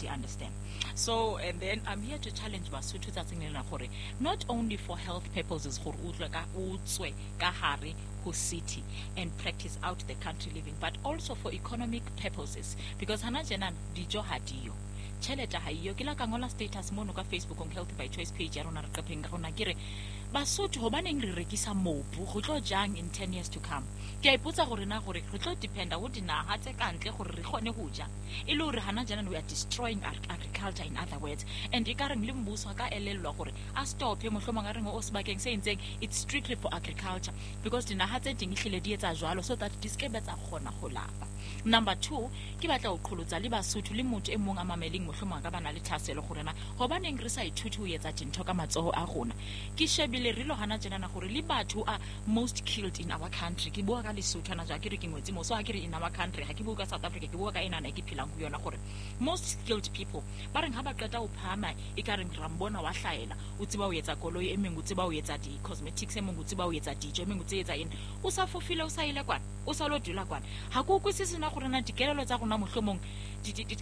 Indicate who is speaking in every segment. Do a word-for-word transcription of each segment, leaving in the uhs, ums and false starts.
Speaker 1: di understand. So and then I'm here to challenge Basotho tsatsing lena gore not only for health purposes, gore o utlwe ka o tswe ka hare ho city and practice out the country living, but also for economic purposes, because hana tjena dijo ha diyo, tjhelete ha iyo. Ke la ka ngola status mono ka Facebook on Health by Choice page ya rona, re qepheng ka rona, ke re Basotho, hobaneng re rekisa mobu? Go tlo jang in ten years to come? Ke a ipotsa gore na gore re tlo dependa ho dinaha tse ka ntle gore re kgone ho ja, e le hore hana jana we are destroying agriculture, in other words. And e ka reng le mmuso a ka elellwa gore a stope, mohlomong a reng o sebakeng se entseng it's strictly for agriculture, because dinaha tse ding ehlile di etsa jwalo so that di skebe tsa kgona ho lapa. Number two, ke batla ho qholotsa le Basotho le motho e mong a mameleng, mohlomong a ka bana le thahasello gore na hobaneng re sa ithute ho etsa dintho ka matsoho a rona. Ke shebile re lo hana tjenana gore le batho are most killed in our country. Ke bua ka Lesotho hana jwa, ke re ke ngwetse mo, so ha ke re in our country, ha ke bua ka South Africa, ke bua ka enana e ke phelang ho yona, gore most skilled people ba reng ha ba qeta ho phahama, e ka reng ra mbona wa hlaela, o tseba ho etsa koloi, e meng o tseba ho etsa di-cosmetics, e meng o tseba ho etsa dijo, e meng o tse etsa eng, o sa fofile, o sa ile kwana, o sa lo dula kwana. Ha ke utlwisise na gore na dikelelo tsa rona mohlomong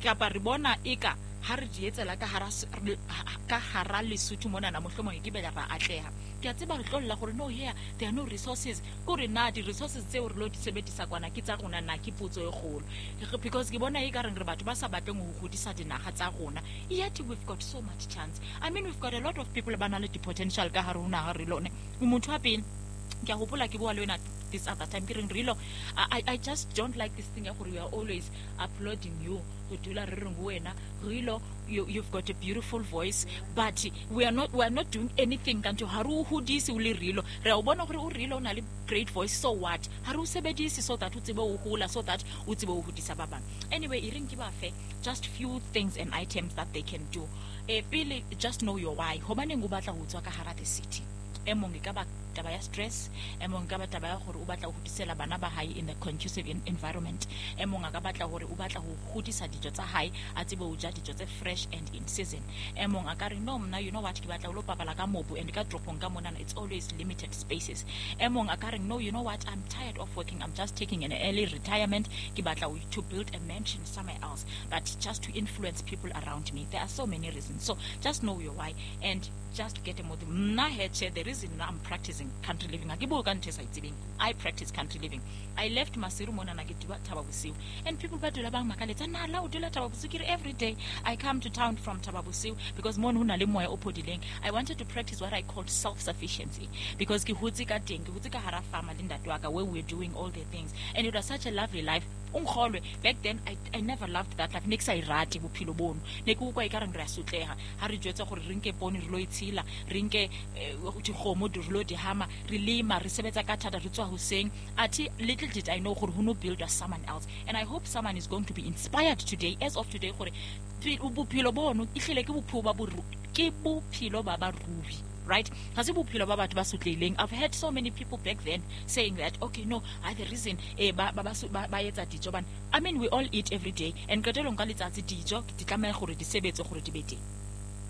Speaker 1: kapa re bona eka ha re di etsela ka hara ka hara Lesotho monana, mohlomong e ke bela ra atleha. Ke a tseba re tlo lla gore no, here there are no resources. Kore na di-resources tseo re lo di sebedisa kwana ke tsa rona na? Ke potso e kgolo, because ke bona e ka reng re batho ba sa batleng ho hodisa dinaha tsa rona, yet we've got so much chance. I mean, we've got a lot of people ba na le di-potential ka hare ho naha. Re lone motho wa pele, ke a hopola ke bua le wena this other time, ke reng relo, I, I just don't like this thing ya gore we are always applauding you, go dula re reng wena Rilo, you, you've got a beautiful voice, but we are not we are not doing anything kanti ha re o hodise o le Rilo. Re a o bona gore o Rilo, o na le great voice, so what? Ha re o sebedise so that o tsebe o hola, so that o tsebe o hodisa ba bang. Anyway, e reng ke ba fe just few things and items that they can do. Eh, pele, just know your why. Hobaneng o batla ho tswa ka hara the city? E mong e ka ba taba ya stress, e mong ka ba taba ya gore o batla ho hodisela bana ba hae in a conducive environment, e mong a ka batla hore o batla ho hodisa dijo tsa hae, a tsebe ho ja dijo tse fresh and in season, e mong a ka re no, mna, you know what, ke batla ho lo papala ka mobu, and ka toropong ka monana it's always limited spaces, e mong a ka re no, you know what, I'm tired of working, I'm just taking an early retirement, ke batla to build a mansion somewhere else, but just to influence people around me. There are so many reasons, so just know your why and just get a motive. Mna heche, the reason I'm practicing country living, ha ke bue ka ntho e sa itsebeng. I practice country living. I left Maseru monana, ke dula Thaba Bosiu, and people ba dula ba makaletsa, na la o dula Thaba Bosiu? Ke re every day I come to town from Thaba Bosiu because mono ho na le moya o phodileng. I wanted to practice what I called self sufficiency because ke hotse ka teng, ke hotse ka hara farmer le ntate wa ka, where we were doing all the things, and it was such a lovely life. O nkgolwe, back then I, I never loved that life. Ne ke sa e rate bophelo bono, ne ke utlwa e ka reng re a sotleha ha re jwetsa gore re nke poone re lo e tshila, re nke dikgomo re lo di hama, re lema, re sebetsa ka thata, re tswa hoseng. Athe little did I know gore ho no build someone else, and I hope someone is going to be inspired today, as of today, gore bophelo bono ehlile ke bophelo ba ke bophelo ba barui, right? Ga se bophelo ba batho ba sotlehileng. I've heard so many people back then saying that, okay, no, I the reason eh ba ba ba ba etsa dijo bana, I mean, we all eat every day, and qetelong ka letsatsi dijo di tlameha gore di sebetse gore di be teng.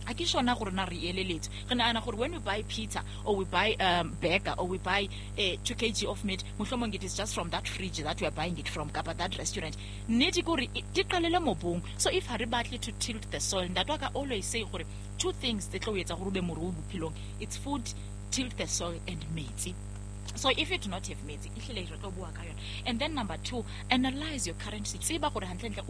Speaker 1: A ke sona gore na re eleletswe, re nagana gore when we buy pizza or we buy um, burger or we buy uh, two kg of meat, mohlomong it is just from that fridge that we are buying it from, kapa that restaurant. Nnete ke gore di qalele mobung. So if ha re batle to tilt the soil, ntate wa ka always say gore two things tse tlo etsa gore o be morui bophelong, it's food, tilt the soil, and metsi. So if you do not have metsi, ehlile re tlo bua ka yona. And then number two, analyze your current, tseba gore hantlentle